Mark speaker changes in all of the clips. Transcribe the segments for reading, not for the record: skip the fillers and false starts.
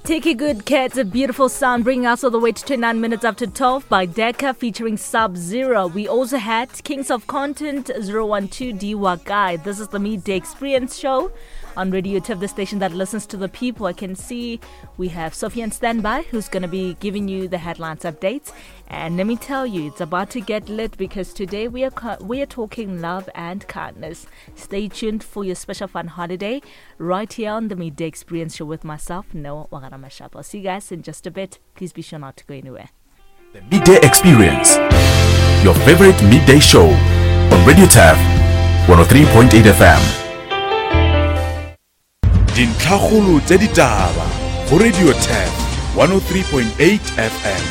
Speaker 1: Take a good care. It's a beautiful sound, bringing us all the way to 29 minutes after 12 by Decca featuring Sub Zero. We also had Kings of Content 012 D Wakai. This is the Midday Experience Show on Radio Turf, the station that listens to the people. I can see we have Sophie on standby who's going to be giving you the headlines updates. And let me tell you, it's about to get lit because today we are we are talking love and kindness. Stay tuned for your special fun holiday right here on the Midday Experience Show with myself, Noah Wagaramashap. I'll see you guys in just a bit. Please be sure not to go anywhere.
Speaker 2: The Midday Experience, your favorite midday show on Radio Turf 103.8 FM. Dintlhakgolo tša ditaba go Radio Turf 103.8 FM.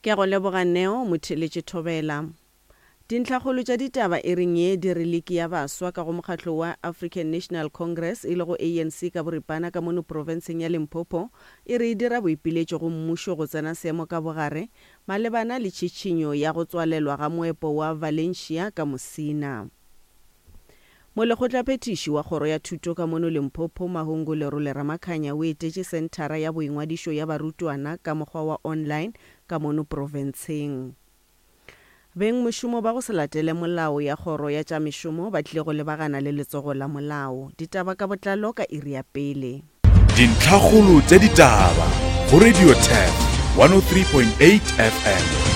Speaker 3: Ke a go leboga Neo, motheeletši Thobela. Dintlhakgolo tša ditaba e reng ye di re liki ya baswa ka go mokgatlo wa African National Congress e lego ANC ka boripana ka mono profenseng ya Limpopo e re e dira boipiletšo go mmušo go tsena seemo ka bogare malebana le tšhitšhinyo ya go tswalelwa ga moepo wa Valencia ka Musina. Molekgotlaphethiši wa kgoro ya thuto ka mono Limpopo Mahungu Lerole Ramakhanya o etetše senthara ya boingwadišo ya barutwana ka mokgwa wa online ka mono profenseng. Bengmošomo ba go se latele molao ya kgoro ya tša mešomo ba tlile go lebagana le letsogo la molao. Ditaba ka botlalo ka iri ya pele.
Speaker 2: Dintlhakgolo tša ditaba go Radio Turf 103.8 FM.